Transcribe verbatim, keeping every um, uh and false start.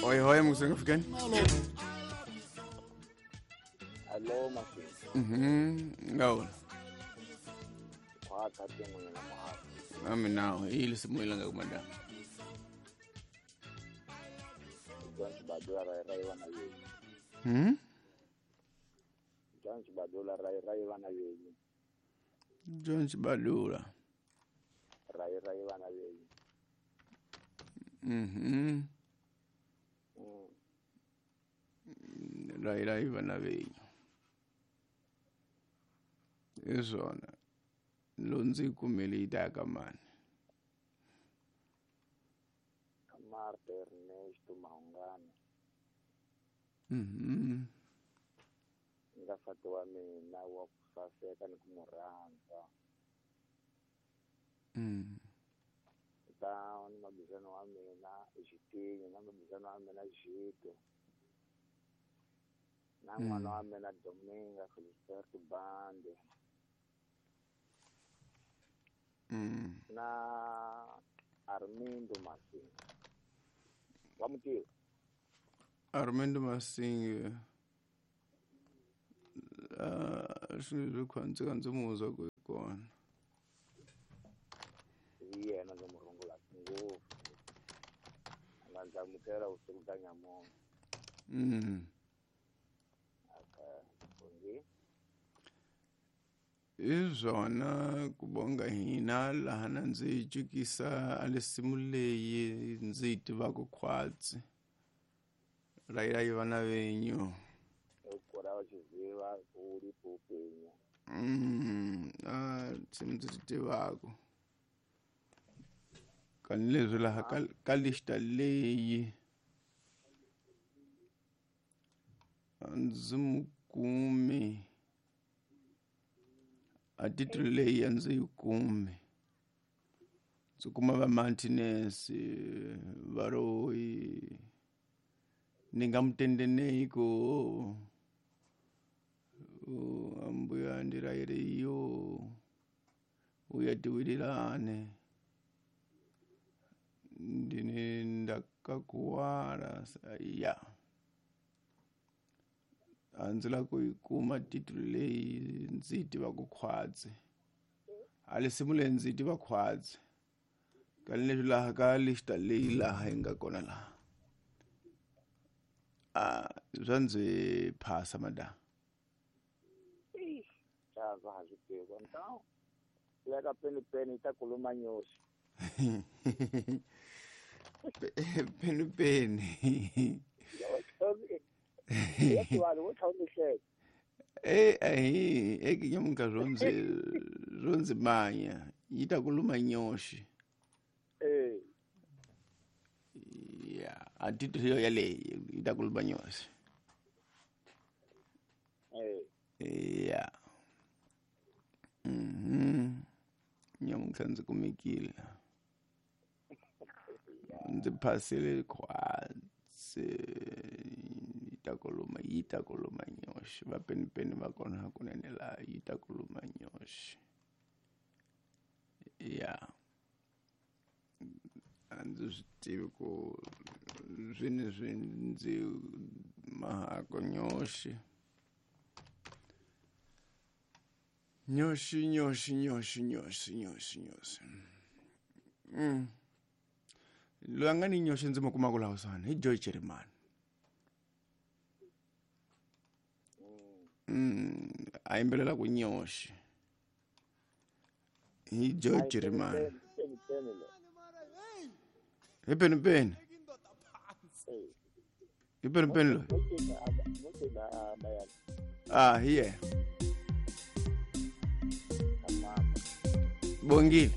Oi hoi musenga fikani. Hello masi. Mhm. Ngawo. Kwa kati mwenye na mahali. Ami nao ili simu ilanga kumada. John Chibadula rai rai wana yenyu. Hmm? John Chibadula rai rai wana yenyu. John Chibadula. Rai rai wana yenyu. Mhm. Mm. Rai rai wana yenyu. Izona. Lonzi kumele itaka mani. Marta Ernesto Mahungana. Mhm. Ngafati wa mina wa kusaseka ni kumurhandza. Mm. Ta ni mabizano wa mina Xitinyi na mabizano wa mina Xito. Na n'wana wa mina Dominga Felisberto Bande. Mm. Na Armindo Masinga. Wa mutiva? Armindo Masinga. Ah, swi khwantsi ka ndzi muzwa ku kona. Hi yena ndzi mu rungula ngopfu. A nga ndzi amukela vusiku bya nyamuntlha. Mm. Okay. Bongi. Izona kubonga hina laha na ndzi cukisa a lesimu leyi ndzi yi tivaka khwatsi. Rai rai vana venyu. Ukora wachiziva uripo upenyu. Mm, ah, nsimu ndzi ti tivaka. Kani leswi laha ka ka lista leyi a ndzi mu kumi. A titulu leyi a ndzi yi kumi. Ndzi kuma va Martinez, Varoyi, ni nga mutendenei ko ambuya ndirayire iyo uya tiwililane ndini ndakakuwala ya a ndzi lava ku yi kuma titulu leyi ndzi yi tivaka khwatsi. A lesimu leyi ndzi yi tiva khwatsi. Kani leswi laha ka lista leyi laha yi nga kona laha. Ah, swa ndzi phasa madam. Chaza ha swi tivi. Então, leka peni peni yi ta kuluma nyoxi. Peni peni. Eh, eh, eh, ke nyamuka zwo ndzi zwo ndzi manya yi ta kuluma nyoxi. Eh. Ya, a titulu yo yaleyi yi ta kuluma nyoxi. Eh. Ya. Mhm. Nyamuka ndzi kumekile. Ndzi phasile khwatsi. Yi ta kuluma, yi ta kuluma nyoxi. Va peni peni va kona hakunene laha yi ta kuluma nyoxi. Ya. A ndzi swi tivi ku swini swi ndzi mahako nyoxi. Nyoxi, nyoxi, nyoxi, nyoxi, nyoxi, nyoxi. Mm. Loyi a nga ni nyoxi ndzi mu kumaka laha kusuhani hi Joy Chirimani. Mm, a yimbelela ku nyoxi. Hi Joy Chirimani. Hi peni peni. Hi peni peni loyi. Ah, hi yena. Bongile.